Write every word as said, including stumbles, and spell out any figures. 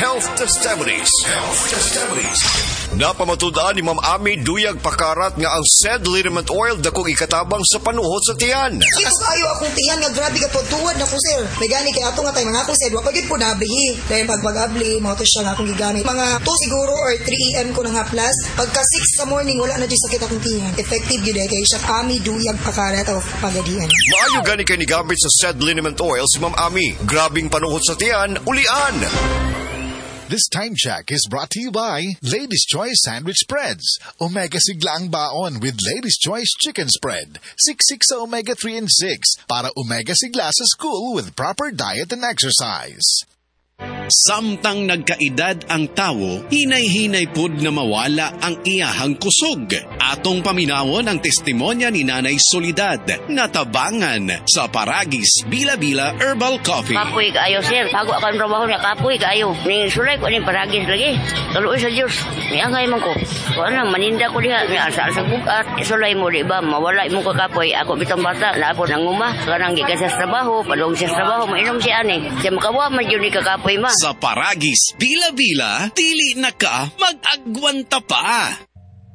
Health Testimonies. Health Testimonies. Napamatud-an ni Ma'am Ami Duyag Pakarat nga ang said liniment oil dakong ikatabang sa panuhot sa tiyan. Sakit kaayo akong tiyan nga grabe ka tuwad na ko sir. May gani kay ato nga time nga ako sir, wa pa gyud po nabihi. Dahil pag pag-abli mao to siya nga akong gigamit. Mga two siguro or three a m ko nang haplas. Pagka six sa morning, wala na jud sakit akong tiyan. Effective gyud eh kay siya Ami Duyag Pakarat of Pagadian. Maayo gani kay nigamit sa said liniment oil si Ma'am Ami. Grabing panuhot sa tiyan, ulian. This time check is brought to you by Ladies Choice Sandwich Spreads. Omega sigla ang baon with Ladies Choice Chicken Spread. Siksik sa omega three and six para omega sigla sa school with proper diet and exercise. Samtang nagkaedad ang tawo, hinay-hinay pod na mawala ang iyahang kusog. Atong paminawon ang testimonya ni Nanay Solidad nga tabangan sa Paragis Bila-Bila Herbal Coffee. Kapoy kaayo, sir. Bago ako ang trabaho niya, kapoy kaayo. Ni sulay ko ni Paragis lagi. Kaluoy sa Diyos. Niangay man ko. Kuan na, maninda ko diha. Ni asa sa bugat. Sulay mo, di ba? Mawala mo kakapoy. Ako bitong bata, naapon ang uma. Kanang gikan sa trabaho, padung siya sa trabaho, mainom siya ani. Siya makawa man yun ni kakapoy ma. Sa Paragis Bila-Bila, dili na ka mag-agwanta pa.